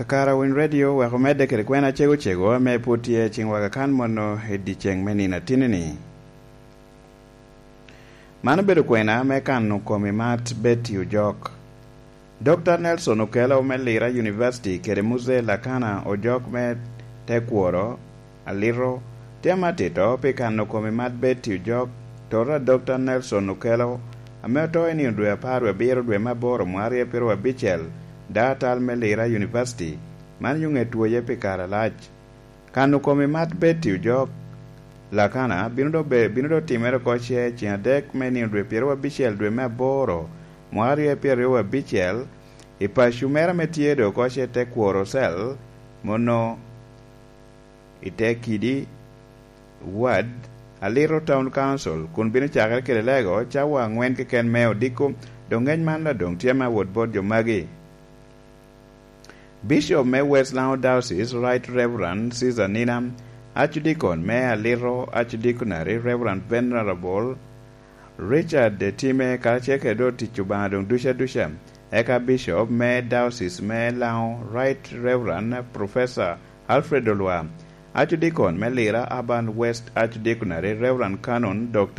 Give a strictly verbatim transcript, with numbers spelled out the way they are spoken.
Akara Winy Radio wek omedde kede kwena cego cego ame pwod tye ciŋ waka kan mono i dyeceŋ me nino atinni-ni. Man obedo kwena me kano komi mat Betty Ojok. Dokta Nelson Okello me Lira University kede Muzee Lakana Ojok me Tekworo Alito tye amatito pi kano komi mat Betty Ojok, tota Dokta Nelson Okello, ame oto i nino dwe apar wie abiro dwe me aboro mwaka aryo pyeraryo abicel, daŋ atal me Lira University, man yo ŋe twoye pi kare alac. Kano komi mat Betty Ojok Lakana bino do be, bino do timere oko ce ceŋ adek me nino dwe pyeraryo abicel dwe me aboro mwaka aryo pyeraryo abicel, i paco mere ame tye do oko ce Tekworo Cell, mono i te kidi wad Alito Town Council, kun bino cakere kede lego cawa angwen keken me odiko. Doŋ ŋec man doŋ tye me awot bot jo magi. Bishop me West Lango Diocese, Right Reverend Caesar Nina, Archdeacon me Alito Archdeaconry, Reverend Venerable Richard Time, karacel kede otic Obaŋa doŋ duca duca, eka Bishop me Diocese me Lango, Right Reverend Professor Alfred Olwa, Archdeacon me Lira Urban West Archdeaconry, Reverend Canon Doctor